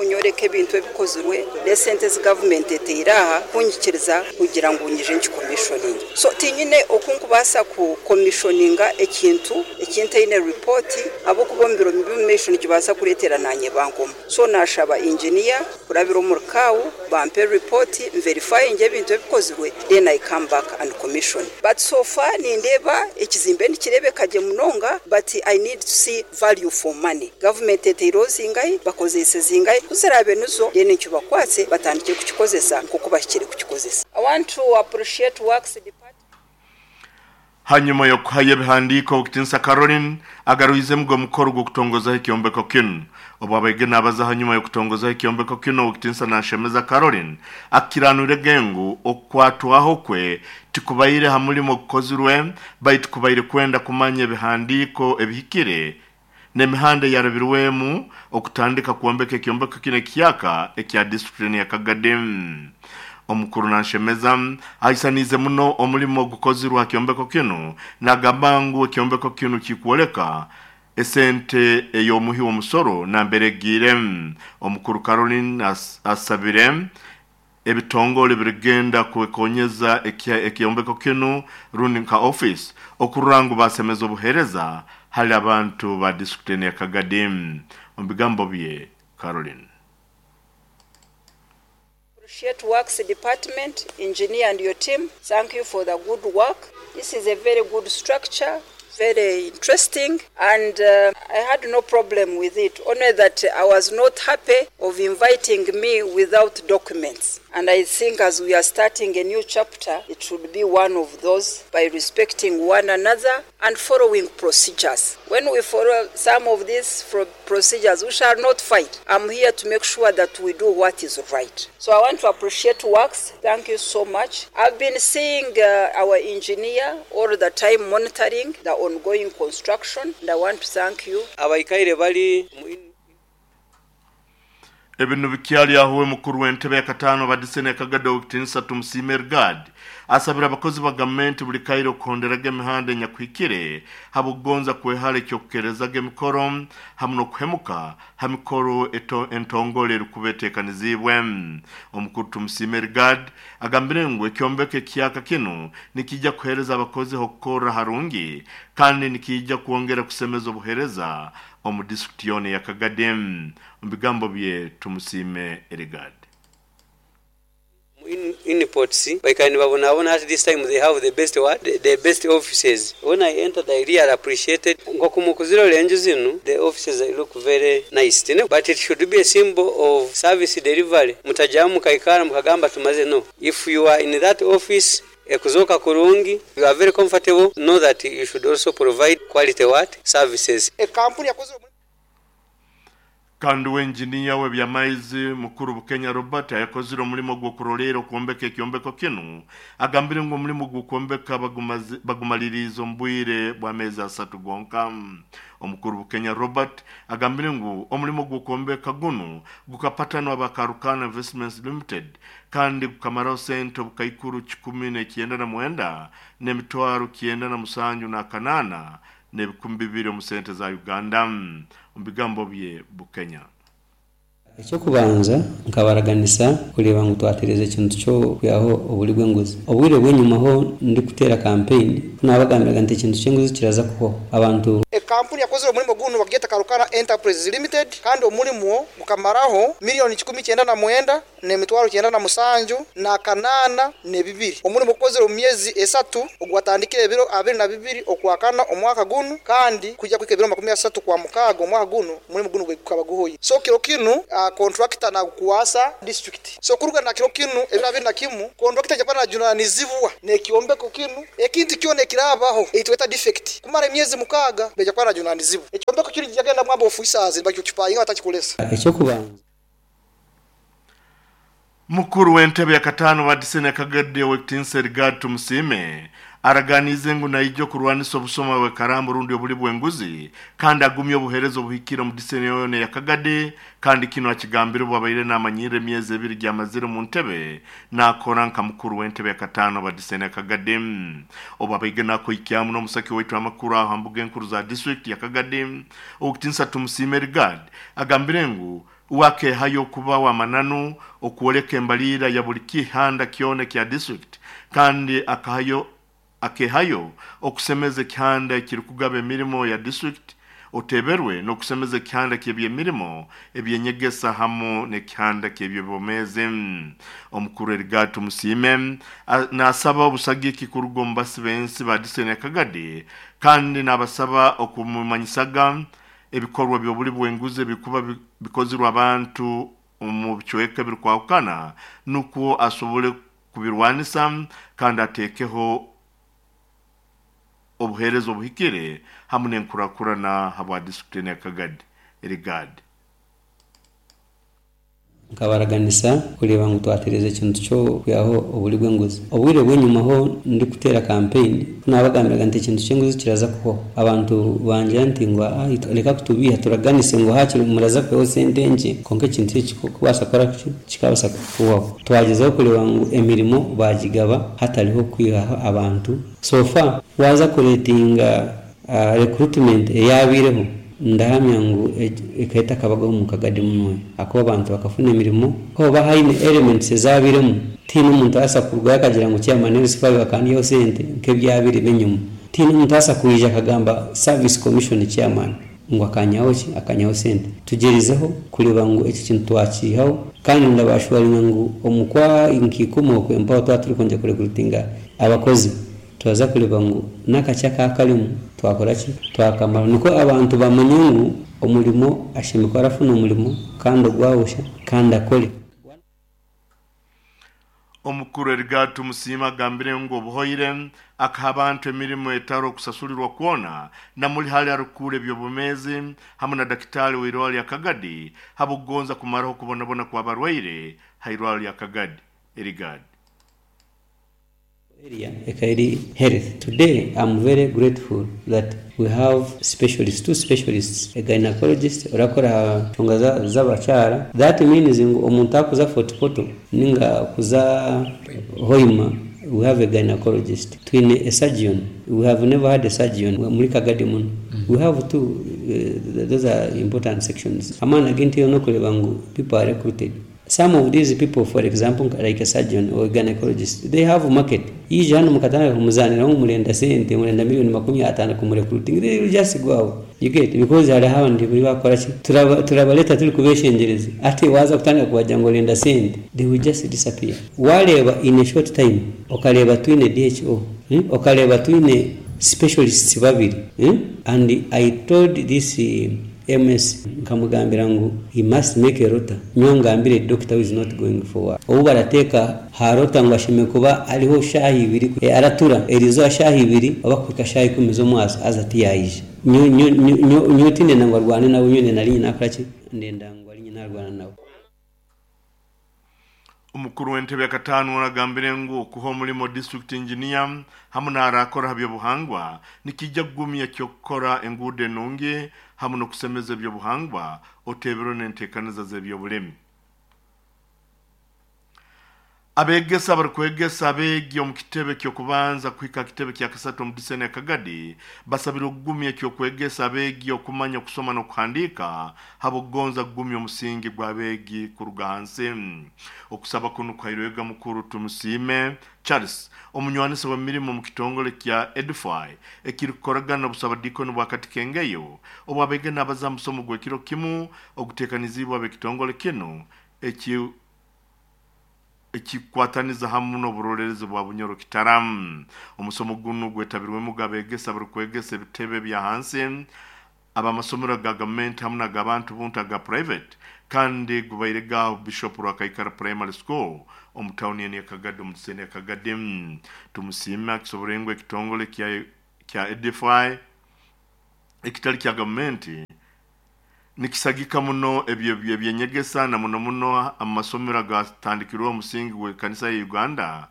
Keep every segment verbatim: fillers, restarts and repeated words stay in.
Kunyoreka ebintu ebikozirwe n'esente ezi gavumenti eteire aha kunyikiriza kugira ngu nyije nkicommissioning. So tinyine oku nkubaasa kucommissioninga ekintu ekintaine ripooti, ahabw'okuba omu biro by'omu maisho nikibaasa kureetera nanye bankomu. So nashaba engineer kurabira omuri C A O bampe ripooti, nverifyinge ebintu ebikozirwe, then I come back and commission. But so far nindeeba ekizimbe nikireebeka gye munonga, but I need to see value for money. Gavumenti eteireho zingahi, bakozeise zingahi? Kuziraabe nizo, then nkibakwatse batandike kukikozesa nk'oku bahikire kukikozesa. I want to appreciate Works Department. Hanyuma yokuhayo ebihandiiko, Owekitinisa Caroline agaruizemu omukoro gw'okutongozaho ekyombeko kinu. Obu abaige nabaza hanyuma y'okutongozaho ekyombeko kinu, Owekitinisa Nashemeza Caroline akiranwire ngu okukwatwaho kwe tikubaire ha mulimo ogukozirwe, baitu kubaire kwenda kumanya ebihandiiko ebihikire n'emihanda eyarabirwemu okutandika kwombeka ekyombeko kino ekiyaka ekya disitulikiti ya Kagadi. Omukuru Nanshemeza aisanize muno omulimo ogukozirwe ha kyombeko kinu, nagamba ngu ekyombeko kinu kikwoleka esente ey'omuhi w'omusoro nambere egiire. Omukuru Caroline as, asabire ebitongole birigenda kwekonyeza ekyombeko kinu rundi nka office okurora ngu basemeza obuheereza hali abantu ba disitulikiti ya Kagadi. Omu bigambo bye, Caroline. Appreciate Works Department, engineer and your team. Thank you for the good work. This is a very good structure, very interesting, and uh, I had no problem with it. Only that I was not happy of inviting me without documents. And I think as we are starting a new chapter, it should be one of those by respecting one another and following procedures. When we follow some of these procedures, we shall not fight. I'm here to make sure that we do what is right. So I want to appreciate Works. Thank you so much. I've been seeing uh, our engineer all the time monitoring the ongoing construction, and I want to thank you. Abaikaire bali Ebintu bikyali aho, mukuru w'entebe ya katano badisene Yakagada, Owekitinisa Tumusiime Regard, asabira abakozi ba gavumenti buli kaire okuhonderaga emihanda enyakuhikire habwokugonza kwehara ekyokukerezaga emikoro hamu n'okuhemuka ha mikoro eto entongole erikuba eteekaniziibwe. Omukuru Tumusiime Regard agambire ngu ekyombeko ekiyaka kinu nikijja kuheereza abakozi okukorra harungi kandi nikijja kwongera kusemeza obuheereza omu disitulikiti yoona ya Kagadi. Omu bigambo bye, Tumusiime Regard. In, inputs baikara nibabonabona. At this time they have the best what, the, the best offices. When I entered, I really appreciated nkokumukuzira enju zinu. The offices look very nice tine, but it should be a symbol of service delivery. Mutajamu mukaikara mukagamba tumaze. No, if you are in that office ekuzoka kurungi, you are very comfortable, know that you should also provide quality what, services. Ekampuni yakoze Kandi wenjiniya w'ebyamaizi mukuru Bukenya Robert ayakozire omulimo gw'okurolera okwombeka ekyombeko kinu agambire ngu omulimo gw'okwombeka bagumaliriize omu bwire bw'ameezi asatu gonka. Omukuru Bukenya Robert agambire ngu omulimo gw'okwombeka gunu gukapatanwa Bakarukana Investments Limited kandi gukamaraho sente obukaikuru kikumi n'ekyenda na mwenda n'emitwaro kyenda na musanju n'akanaana n'ebikumi bibiri omu sente za Uganda. Omu bigambo bye, Bukenya. Ekyokubanza nkabaraganisa kureba ngu twatereza ekintu kyo kwihaho oburi bw'enguzi. Obwire bw'enyumaho ndikuteera campaign nabagambiraga nti ekintu ky'enguzi kiraza kuhwaho abantu. Ekampuni yakozire omulimo guno bagiyeta Karukana Enterprises Limited, kandi omulimo gukamaraho miliyoni kikumi kyenda na mwenda n'emitwaro kyenda na musanju na kanaana n'ebibiri. Omulimo gukozire omu myezi esatu, ogwatandikire ebiro abiri na bibiri okwakana omwaka gunu kandi kujya kuhika ebiro makumi asatu kwa mukaaga omwaka guno, omulimo guno gukaba guhoire. So kiro kinu uh, contractor nagukwasa district. So kuruga na kiro kinu ebiro abiri na kimu, contractor japana najunanizibwa n'ekyombeko kinu. Ekintu kyona ekirabaho eitweta defect kumara emyezi mukaaga beja kuba najunanizibwa. Ekyombeko kiri jagenda mwamba officers bakikipayinga batakikolesa. Ekyokubanza. Mukuru w'entebe ya katano wa disene Kagadi, Owekitinisa Regard Tumusiime, araganize ngu naija okurwanisa obusoma bwe karambo rundi obuli bw'enguzi kandi agumye obuheereza obuhikire omu disene yoona ya Kagadi. Kandi kino akigambire bwabaire namanyire emyezi ebiri gyamazire mu ntebe nakora nka mukuru w'entebe ya katano wa disene ya Kagadi. Obu abaige nakoikyamu n'omusaki waitu amakuru aho hambuga enkuru za district ya Kagadi, Owekitinisa Tumusiime Regard agambire ngu Wakehayo kuba wa mananu okuoleka embalira ya buli kihanda kyona kya district, kandi akahayo akehayo okusemeza ekihanda ekirikugaba emirimo ya district oteberwe n'okusemeza ekihanda ky'ebyemirimo ebyenyegesa hamu n'ekihanda ky'ebyobomezi. Omukuru Erigato Musiime nasaba obusagiki kuruga omu basi b'ensi ba disitulikiti ya Kagadi, kandi nabasaba okumumanyisaga ebikorwa by'obuli bw'enguzi ebikuba bikozirwe abantu omu bicweka ebirikwahukana nukwo asobole kubirwanisa kandi ateekeho obuheereza obuhikire hamu n'enkurakurana habwa disitulikiti ya Kagadi. Erigadi Nkabaraganisa kureba ngu twatereza ekintu kyo kwihaho obuli bw'enguzi. Obwire bw'enyumaho ndi kuteera campaign nabagambiraga nti ekintu ky'enguzi kiraza kuhwaho. Abantu bangira nti ngu reka kutubiha, turaganise ngu hakiri muraza kwihaho sente nkye, konka ekintu eki kubaasa kukora ki kikabasa kuhwaho. Twagezaho kureba ngu emirimo bagigaba hatariho kwihaho abantu. So far waza kuretinga uh, recruitment eyabireho, ndahamya ngu ekaita kabagaho mu Kagadi muno, akuba abantu bakafuna emirimo hoba haine elements ezabiremu. Tiine omuntu asa kurugayo akagira ngu chairman L C five akandiho sente nk'ebyabire benyuma. Tiine omuntu asa kwija akagamba service commission chairman ngu akanyaho ki akanyaho sente. Tugerizeho kureba ngu eki kintu twakihaho, kandi ndabashwaringa ngu omukwa nkikumu okwempaho twa turi kwongera kurekrutinga abakozi, twaza kureba ngu n'akakyaka akarimu twakora ki twakamara, niko abantu bamanye ngu omurimo ashemekwa arafuna omurimo kandi ogwawusha kandi akore. Omukuru Erigato Musiima agambire ngu obuhoire akaha abantu emirimo etaro okusasulirwa kwona namuli hali arukura ebyobumezi hamu na dakitari w'irwaro lya Kagadi habugonza kumaraho kubonabona kw'abarwaire ha irwaro lya Kagadi. Erigadi area Ekairi Health. Today I'm very grateful that we have specialists, two specialists, a gynecologist orakora nshonga z'abakyara. That means ngu omuntu akuza Fort Portal ninga kuza Hoima, we have a gynecologist. Twine a surgeon. We have never had a surgeon muri Kagadi muno. We have two, uh, those are important sections. Amana agenti yo nokureba ngu people are recruited. Some of these people, for example, like a surgeon or a gynecologist, they have a market. Ije hano mukatana kumuzanira ngu murenda sente, murenda miliyoni makumi atano kumurecruiting, they will just go out. You get, because hari abandi bakora ki turabaleta turi kubeshengereza, ate waza kutandika kubagira ngo renda sente, they will just disappear. Wareba in a short time, okareba twine D H O, hmm? Okareba twine specialists babiri, hmm? And I told this uh, M S nkamugambira ngu he must make a rota. Nyo ngambire doctor who is not going for work. Obu barateka ha rota ngo ashime kuba ariho shahi ibiri, e, aratura erizo shahi ibiri abakwika shahi ikumi zo mwaso aza tiyayije. Nyo nyo nyo nyo tinde nangwa rwane nawe nyone nari nakora ki ndenda ngo ari nyina nawe. Umukuru w'entebe ya katano aragambire ngu kuho omulimo district engineer hamu n'arakora habyobuhangwa nikijja kugumya kyokukora enguudo enungi hamu n'okusemeza ebyobuhangwa otebero n'enteekaniza z'ebyobulemi. Abegesa barikwegesa abeegi omu kitebe ky'okubanza kuhika kitebe kya kasatu omu disitulikiti ya Kagadi basabire okugumya ekyokwegesa abeegi okumanya okusoma n'okuhandiika habw'okugonza kugumya omusingi gw'abeegi kuruga hansi. Okusaba kunu kuhairwega mukuru Tumusiime Charles, omunywanisa w'emirimo omu kitongole kya Edify ekirikukoragana n'obusabadiikoni bwa Katikengeyo, obu abeegi n'abaza musomo gw'ekiro kimu oguteekanizibwe ab'ekitongole kinu eki ekikwataniza hamu n'oburolerezi bwa Bunyoro Kitaramu. Omusomo guno gwetabirwemu gabegesa barikwegesa ebitebe bya hansi abamasomero ga gavumenti hamu n'agabantu buntu aga private, kandi gubaire ga Bishop Rwakaikara Primary School omu tawuni ya Kagadi omu disitulikiti ya Kagadi. Tumusiime akisobora ngu ekitongole kya kya Edify ekitali kya gavumenti nikisagika muno ebyo ebyenyegesa na muno muno amasomero agatandikirwe omusingi gw'ekanisa ya Uganda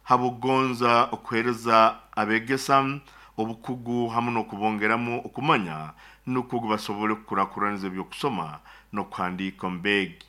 habugonza okuhereza abegesa obukugu hamu n'okubongeramu okumanya nukwo basobole kukurakuraniza ebyokusoma n'okuhandiika omu beegi.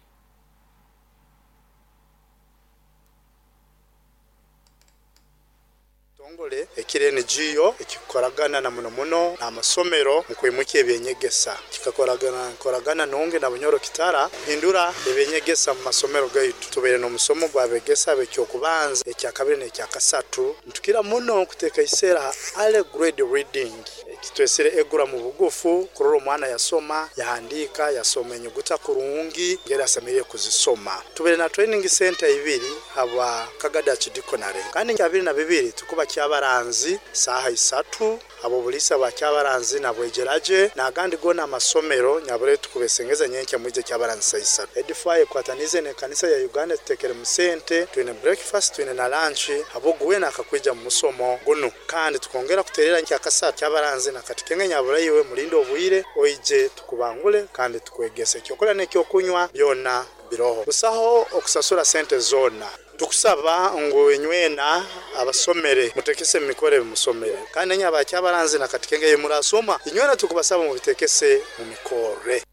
Kitongole ekiri N G O ekikoragana na muno muno n'amasomero mu kwimuka ebyenyegesa kikakoragana koragana nonge na Bunyoro Kitara hindura ebyenyegesa mu masomero gaitu. Tubeere n'omusomo gwabegesa bekyokubanza ekyakabiri n'ekyakasatu ntukira muno kuteka isera ale grade reading kitwesere egura mu bugufu kurora omwana yasoma yahandika yasoma enyuguta kurungi ngera asemeriye kuzisoma. Tubeere na training center ibiri haba Kagada Chidikonare kandi abiri na bibiri tukuba kyabaranzi saha isatu abo bulisa ba kyabaranzi nabwegeraje nagandi gona amasomero nyabure tukubesengeza nyenke mwije kyabaranzi saha isatu. Edify kwatanize ne kanisa ya Uganda tutekere mu sente twine breakfast twine na lunch abo guwe akakwija mu musomo guno kandi tukongera kuterera nkyakasa kyabaranzi nakati nyabura yiwe mulindo obwire oije tukubangule kandi tukwegese kyokola nekyokunywa byona biroho busaho okusasura sente zona. Tukusaba ngo enywena abasomere mutekese mikore musomere kandi nyaba kyabaranzi nakatikenge yemurasoma inywena tukubasaba mu bitekese mu mikore.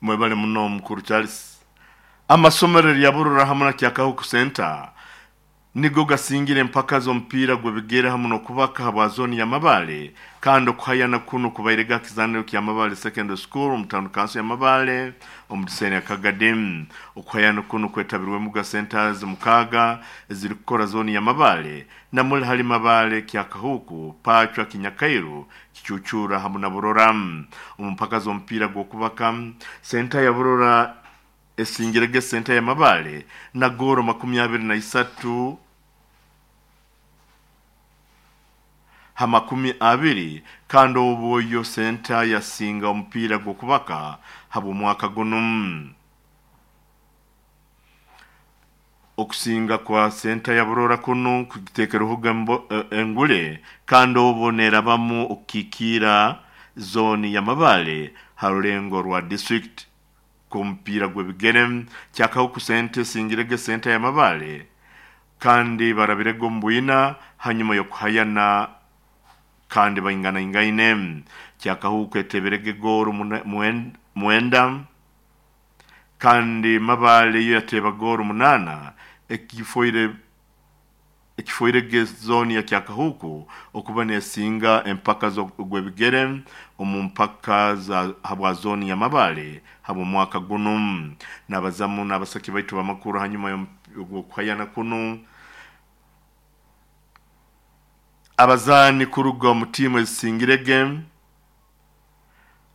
Mwebale muno mukuru Charles. Amasomero ya Burora hamwe na Kyakahuku Center nigo gasingire mpaka zo mpira gwebigera hamwe no kubaka habwa zone ya Mabale kandi okuhayana kuno kubairega kizaniro kya Mabale Secondary School omutano kanso ya Mabale omudiseni ya Kagadem. Okuhayana kuno kwetabirwe muga centers mukaga eziri kukora zone ya Mabale na muri hari Mabale Kyakahuku Pachwa Kinyakairu Kichuchura hamwe na Burora. Omupaka zo mpira gwo kubaka center ya Burora esingirege center ya Mabale na goro makumyabiri na isatu ha makumi abiri kandi obuyo center yasinga omupiira gw'okubaka haba mwaka guno. Okusinga kwa center ya Burora kuno kugitekereho engule kandi obonerabamu okikira zone ya Mabale harulengo rwa district kumpira gwebigere Kyakahuku sente singirege center ya Mabale kandi barabirego mbwina hanyuma yo kuhayana kandi baingana ingaine. Kyakahuku eteberege goro mwenda kandi Mabale yo yateba goro munana ekifoire ekifoire zone ya Kyakahuku okuba nesinga empaka zo gwebigere omu mpaka za habwa zone ya Mabale habo mwaka guno. Nabazamu nabasaki baitu bamakuru hanyuma yo kuhayana kuno abazani kuruga mu timu ezisingirege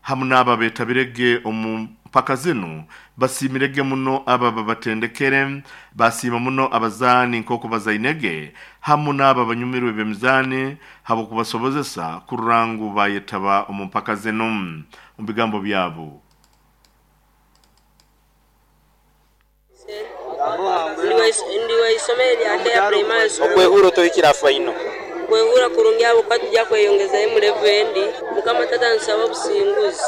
hamwe n'aba betabirege omu mpaka zino basimirege muno aba babatendekere basima muno abazani nkoko bazainege hamwe n'aba banyumirwe bemizani habo kubasobozesa kurangu bayetaba omu mpaka zino mu bigambo byabo. Okwehura tohikira faino kwehura kurungi abo kwatujja kweyongeza mu level endi mukama tata nsaba obusinguzi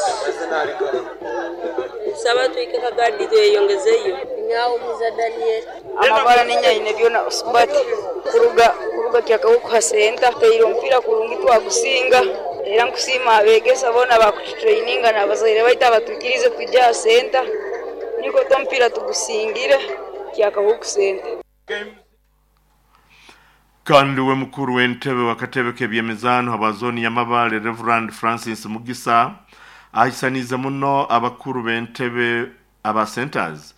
nsaba tuike Kagadi tweyongezeyo. Nyawo muza Daniel amabara ninya byona usubati kuruga kuruga Kyakahuku hasenta teiro mpira kurungi twagusinga era nkusima abegesa bona bakutraininga nabazaire baita batukirize tujja senta niko tompira tugusingire Kyakahuku senta. Kandi we mukuru w'entebe wakatebe k'ebyemizano habazoni ya Mabale Reverend Francis Mugisa ahisaniza muno abakuru b'entebe aba centers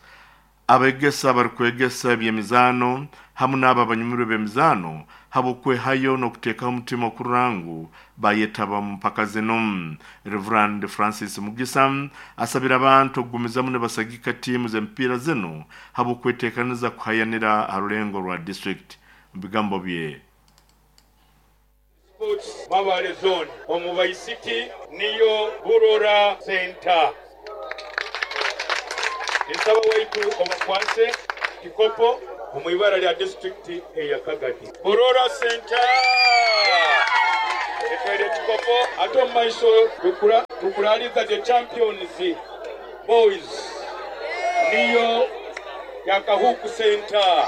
abegesa barikwegesa ebyemizano hamwe n'aba banyumirwe b'emizano habo kwehayo no kuteka umutima kurangu bayetaba mu mpaka zino. Reverend Francis Mugisa asabira abantu okugumizamu ne basagika timu z'emipiira zino habo kwetekaniza kuhayanira harulengo rwa district. Bigambo bye Sports Mabale zone omubai city niyo Burora Center nsaba waitu omukwase kikopo omuibara lya district eya Kagadi Burora Center etwere kikopo ate omumaiso tukura tukuraliza the champions boys niyo Kyakahuku Center.